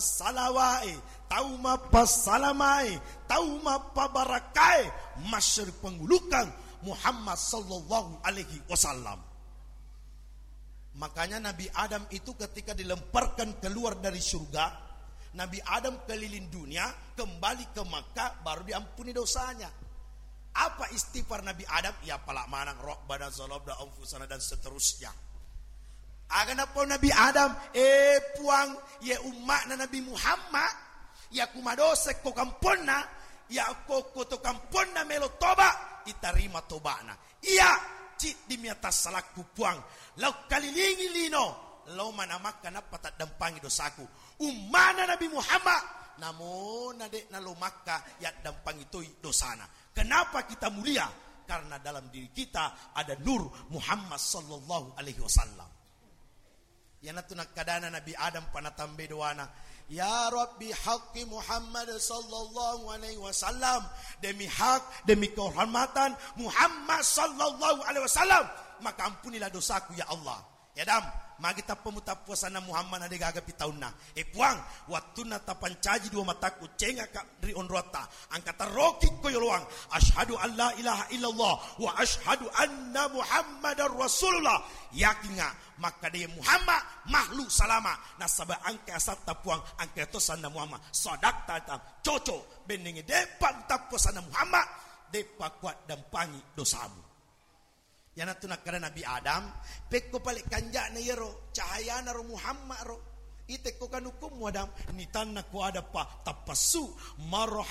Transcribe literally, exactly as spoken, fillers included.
salawae, tau mappassalamae, tau mappabarakae, masseri pangulukang Muhammad sallallahu alaihi wasallam. Makanya Nabi Adam itu ketika dilemparkan keluar dari surga, Nabi Adam keliling dunia, kembali ke Makkah, baru diampuni dosanya. Apa istighfar Nabi Adam? Ya pala manang, Rabbana zalamna anfusana dan seterusnya. Aga napau Nabi Adam, eh Puang, ye umma'na Nabi Muhammad, ya ku madosa ko kamponna, ya ko, ko to kamponna melo toba, itarima toba'na. Iya, ciddi mi atas salakku Puang, lau kalilingi lino, lau mana Makkah nappa taddampangi dosaku. Umma'na Nabi Muhammad, namona de' nalo Makkah, yaddampangi toi dosana. Kenapa kita mulia? Karena dalam diri kita ada nur Muhammad sallallahu alaihi wasallam. Iyanatu nakkadana Nabi Adam panatambai doana, "Ya Rabbi, haqqi Muhammad sallallahu alaihi wasallam, demi hak, demi kehormatan Muhammad sallallahu alaihi wasallam, maka ampunilah dosaku ya Allah." Ya Adam, magi tappa mutappuasanna Muhammad na de' gaga pi taunna? Eh Puang, wattunna tapancaji dua matakku, cengaka ri onroatta, angka tarroki ko yoloang, "Asyhadu an la ilaha illallah wa asyhadu anna Muhammadar Rasulullah." Yakinga makkada iye Muhammad makhluk salama, nasaba engka asatta Puang, engka to sanna Muhammad. Sadaqta tam, cocok, bennengnge de'pa tappo sanna Muhammad, de'pa kuaddampangi dosamu. Iyanatu nakkada Nabi Adam, pekko pale kanja'na iyaro, cahayana ro Muhammad ro. Itekko kanukummu Adam, nitanna ko adappa tappassu, marha